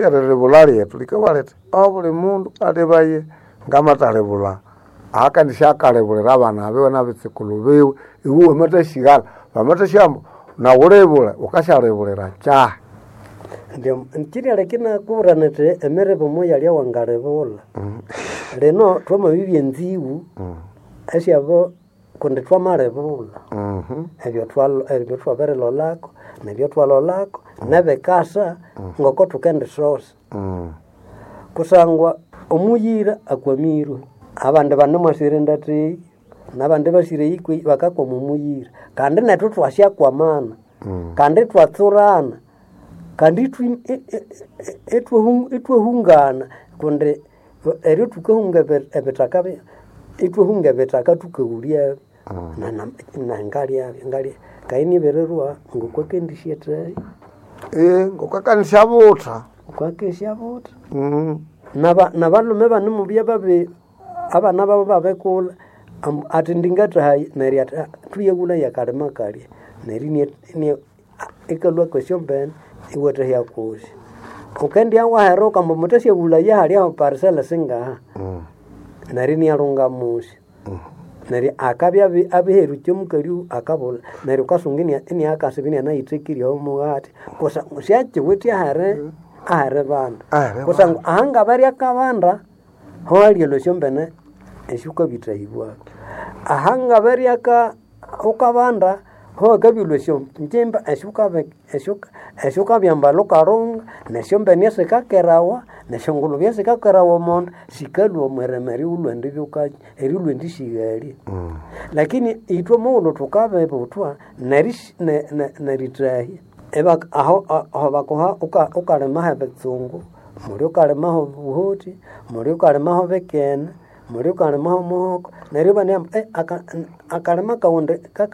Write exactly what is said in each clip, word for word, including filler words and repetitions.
Eriribulha lyethu likabugha lithi obuli mundu alebaye ngamatalibulha akandisyakalibulira abana biwe nabitsukulhu biwe iwe wamathasyighana bamathasya ambu nawu wulibule wukasyalibulira kyahi. Kyirialeka inakubwira nyithi emiribo moyalya wangalibulha. Lino thwamabibya enzighu esyabo kundi twamalibulha ebyathwabirilholako nebythwalholako nebikasa ngoko thukendisosa. Kusangwa omuyira akwamirwe abandi banemwasira endatha eyi nabandi ibasira eyi kwehi bakakwama omuyira kandi nethu ithwasyakwamana kandi ithwatsurana kandi ithwahungana kundi eryo thukahunga ebithaka ithwahunga ebithaka thukaghulhyabyo nangalyabyo ngalya ngaye nibirirwa ngokwakendisyathayi. Ngokwakandisyabutha. Ngokwakendisyabutha. Nabalhume banemubya babi abana babo babikulha athi ndingathahayi neryo athi thuyaghulhaye akalima kalya neryo ikalhwa kwesyombene iwathahya kusi. Wukendibya waheruka ambu muthasyabulhaya halya parcel singaha neryo inalhunga musyo. Neryo akabya abiherukya omukali akabulha neryo wukasunga iniakasiba inianayithekirye omughati kusangwa syakyiwithe aheri aheribanda kusangwa ahangabere akabanda hohalya esyombene esyukabithahibwako. Ahangabere wukabanda hohakabyalhwa esyongyimba esyukabyambalha wukalhunga nesyombene esikakerawa nesyongulube esikakerawa omonda sikalhwa omwirima erighulhwa endisighalya. Lakini ithwe mughulhu thukabibuthwa nerithahya aho bakuha wukalima hebitsungu, muli wukalima hobuhoti, muli wukalima hobikene, muli wukalima homuhoko neryo ibanabugha ambu akalima kaghu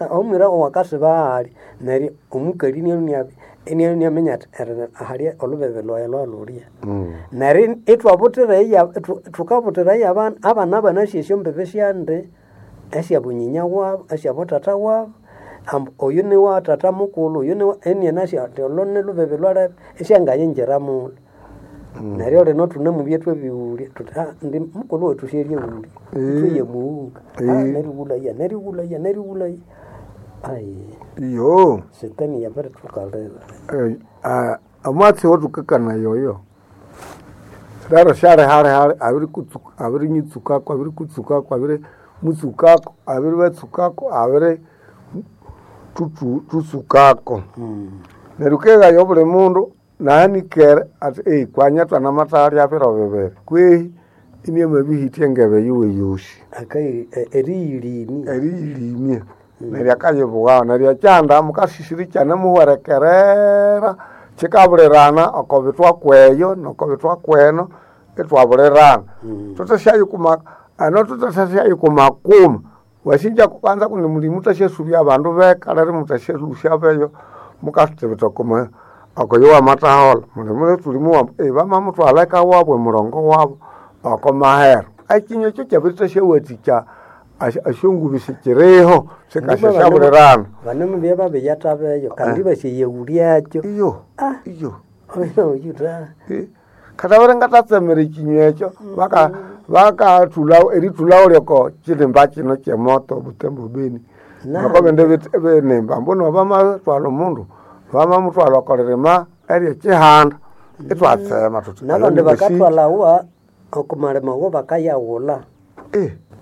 omwira waghu akasiba hali neryo omukali inalhwa inaminya athi halya olhubibi lhwaghi lwalhulya. Neryo ithwabuthira thukabuthira yabana abana banasi esyombibi syandi esyabunyinyi wabu esyabuthatha wabu ambu oyu niwa thatha mukulhu oyu niwa inianasi athi olho nilhubibi lhwalebe isyangayingira mulho. Neryo lino thunemubya ithwabighulya thuthi indi mukulhu wethu syalyaghulya ithwaya mughunga nerighulhaya nerighulhaya nerighulhaya Iyo setani yabirithukalira. Omwatsi owathukakania oyo lero syalihali abirinyitsukako abirikutsukako abirimutsukako abiribatsukako abiritutsukako. Neryo wukeghaya obuli mundu nahanikere athi kwanya thwanamathalya biro bibiri kwehi inamabihithya engebe yiwe yosi. Eriyilimya. Eriyilimya neryo akayibughaho neryo ekyanda mukasisira ikyanemuhwerekerera kyikabulirana oko bithwa kweyo noko bithwa kweno ithwabulirana. Thuthasyayikwama hano thuthasyayikwama kuma wasinja kwanza kundi muli muthasyasubya abandu beka lero muthasyalhusya beyo mukathibitha okwa okoyo wamathaholha muli mulithulimuwa bamamuthwalha eka wabu emurongo wabu oko mahero. Ekinywa ekyo kyabirithasyawathikya esyongubi sikiriho sikasyasyabulirana. Banemubya babiyathabeyo kandi ibasyayaghulyakyo. Iyo iyo Oyuta. Kathabere ngathatsemera ekinywa ekyo bakathulha erithulhaho lyoko kirimba kino kyemoto Butembo Beni. Ngoko bindi binimba mbunu bamathwalha omundu bamamuthwalha oko lirima eryekihanda ithwatsema thuthi Nabandi bakathwalhawa oko malima awo bakayaghulha.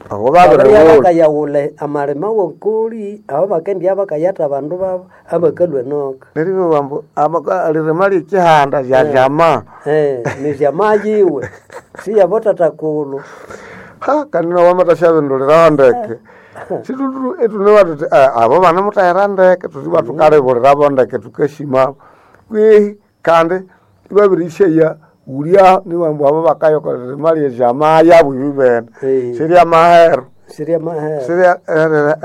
Abo Babiribya babirighulha. bakayaghulha amalima wokoli aho bakendibya bakayatha abandu babo abakalhwa enoka. Neryo ibabugha ambu eririma lyekihanda lyalyama. Niryama yiwe siyabuthathakulhu. Kandi nawu wamathasyabinduliraho ndeke ithunabugha thuthi abo banemuthahira ndeke thuthi ibwa thukalibulirabo ndeke thukasimabo kwehi kandi ibabirishaya ghulyaho nibabugha ambu abo bakaya oko lirima lyeryama yabu ibibene siryamahero Siryamahero. sirya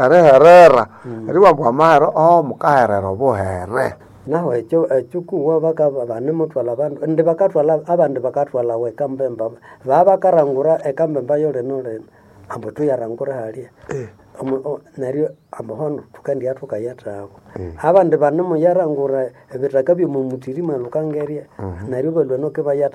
eriherera eribugha ambu amahero oho mukaherera obuhere. Nahu ekyo ekyokuwa banemuthwalha abandu indi bakathwalha abandi bakathwalhawa ekambemba babakarangura ekambemba yolino lino ambu thuyarangura halya. Omu- o- neryo ambohono thukandia thukayethabo abandi banemuyarangura ebithaka byomumutiri mwalukangerya neryo balwa noke bayatha.